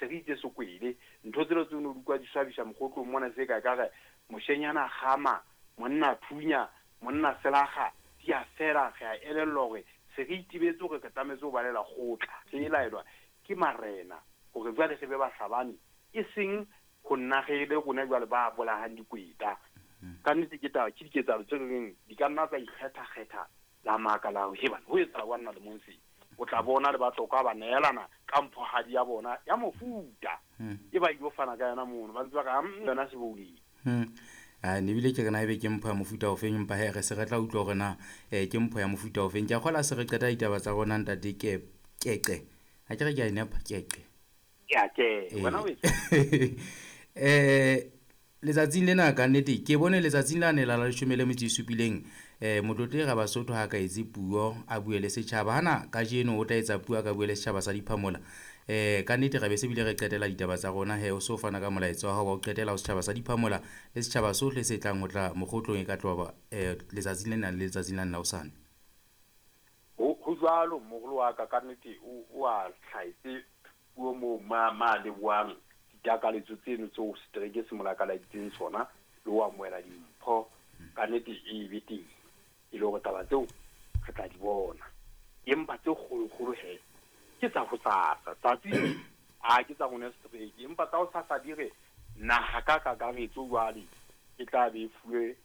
Se re itse sekwele ntho tselo tseo no di kwa di swabisa Mokgotlong mona, se ka ka re moshenyana gama monna thunya monna selaga di a fela. Re a elellwa hore se re itebetse hore re tlametse ho balela kgotla, re e laelwa ke marena hore jwale re be bahlabani, e seng ho nna re le rona jwale ba bolahang dikweta. Ka nnete ke taba ke diketsahalo tse reng di ka nna tsa ikgetha-kgetha la maka la hore hebana ho etsahala wa nna le mong se o tla bona le Batlokwa ba neelana ka mphohadi ya bona ya mofuta e ba ilo fana ka yona mono, ba ntse ba ka yona sebouleng. Ne bile ke re na ebe ke mpho ya mofuta ofeng, empa he re se re tla utlwa hore na ke mpho ya mofuta ofeng. Ke a kgola se re qeta ditaba tsa rona ntate ke Keqe, ha ke re ke a e nepa Keqe. Ya ke wena o Letsatsing lena ka nnete ke bone letsatsing la ne la 17 motlotle Rabasotho ha ka etse puo a bue le setjhaba. Hana kajeno o tla etsa puo a ka bue le setjhaba sa Diphamola. Ka nnete re be se bile re qetela ditaba tsa rona he o so fana ka molaetsa wa hao wa ho qetela ho setjhaba sa Diphamola le setjhaba sohle se tlang ho tla Mokgotlong e ka tloha letsatsing lena le letsatsing la nna hosane. Ho jwalo moholo wa ka, ka nnete o a hlahetse puo moo ma lebohang ditakaletso tseno tseo setereke se mo lakaladitseng sona le ho amohela dimpho. Ka nnete e be teng e le hore taba tseo re tla di bona, empa tse kgolokgolo he ke tsa hosasa tsatsi a ke tsa rona setereke, empa tsa hosasa di re naha ka kakaretso jwale e tla be e fuwe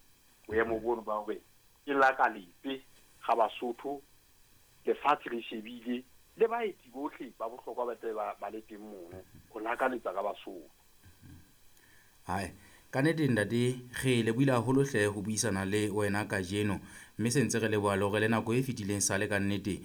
boemo bono ba hore e lakaletse ga Basotho, lefatshe le shebile le baeti bohle ba bohlokwa ba tle ba le teng mono ho lakaletsa ka Basotho. Hai, ka nnete ntate re lebohile haholo hle ho buisana le wena kajeno, mme se ntse re leboha le hore le nako e fetileng sale ka nnete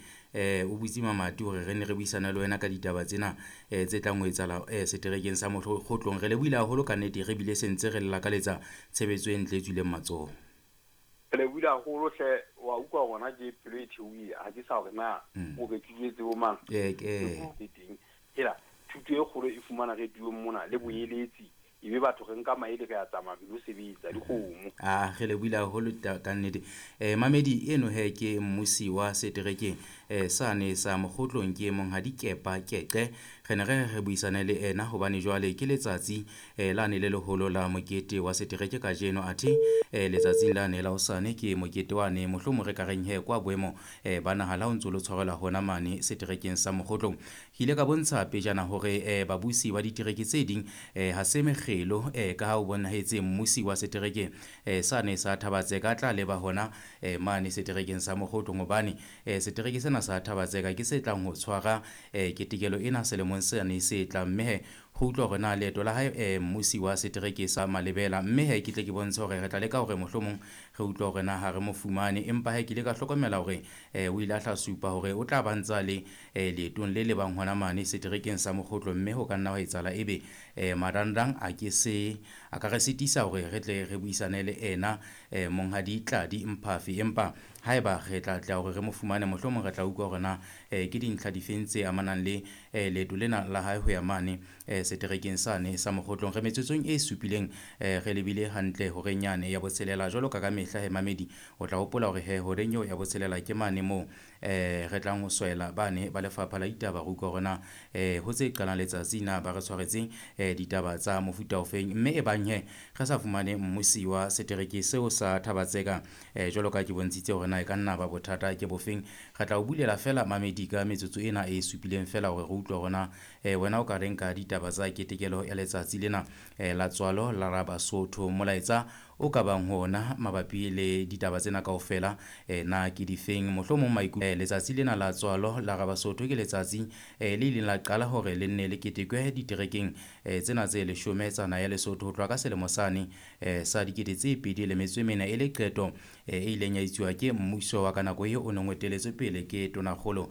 o butse mamati hore re ne re buisane le wena ka ditaba tsena tse tlang ho etsahala seterekeng sa Mokgotlong. Re lebohile haholo ka nnete, re bile se ntse re lakaletsa tshebetso e ntle e tswileng matsoho. Re lebohile haholo hle, wa utlwa hona ke pelo e theohile, ha ke sa hore na o re ke bo mang. Ke teng hela thuto e kgolo e fumana re tuong mona le boeletsi, ebe batho re nka maele re a tsamaya re lo sebetsa dikgomo. Re lebohile haholo ka nnete. Mamedi eno he ke mmusi wa setereke sane sa Mokgotlong, ke monghadi Kepa Keqe. Re ne re re buisane le ena hobane jwale ke letsatsi lane le leholo la mokete wa setereke kajeno, athe letsatsing lane la hosane ke mokete wane mohlomong re ka reng he kwa boemo ba naha la ho ntso lo tshwarelwa hona mane seterekeng sa Mokgotlong. Ke ile ka bontsha pejana hore babusi ba ditereke tse ding ha se mekgelo ka ha o bonahetse mmusi wa setereke sane sa Thabatseka tla leba hona mane seterekeng sa Mokgotlong, hobane setereke sena sa Thabatseka ke se tlang ho tshwara ketekelo ena selemong sane se tlang. Mme he ho utlwa hore na leeto la hae mmusi wa setereke sa Malebela, mme he ke tle ke bontshe hore re tla leka hore mohlomong re utlwa hore na ha re mo fumane, empa he ke ile ka hlokomela hore o ile a hla supa hore o tla ba ntsa le leetong le lebang hona mane seterekeng sa Mokgotlong, mme ho ka nna hwa etsahala ebe marangrang a ke se a ka re sitisa hore re tle re buisane le ena monghadi Tladi Mphafi. Empa haeba re tla tla hore re mo fumane, mohlomong re tla utlwa hore na ke dintlha difeng tse amanang le leeto lena la hae ho ya mane seterekeng sane sa Mokgotlong. Re metsotsong e supileng re lebile hantle horeng yane ya botshelela. Jwalo ka mehla he mamedi, o tla hopola hore he horeng eo ya botshelela ke mane moo re tlang ho swela bane ba lefapha la ditaba, re utlwa hore na ho tse qalang letsatsi na ba re tshwaretseng ditaba tsa mofuta ofeng. Mme e bang he re sa fumane mmusi wa setereke seo sa Thabatseka jwalo ka ke bontshitse hore na e ka nna ba bothata ke bofeng, re tla o bulela fela mamedi ka metsotso ena e supileng fela hore re utlwe hore na wena o ka reng ka ditaba tsa ketekelo ya letsatsi lena la tswalo la Rabasotho. Molaetsa o ka bang hona mabapi le ditaba tsena kaofela na ke difeng, mohlomong maikutlo. Letsatsi lena la tswalo la Rabasotho ke letsatsi le ileng la qala hore le nne le ketekwe diterekeng tsena tse 10 tsa naha ya Lesotho ho tloha ka selemo sane sa 2024, e le qeto e ileng ya etsuwa ke mmuso wa ka nako eo o neng o eteletswe pele ke tonakgolo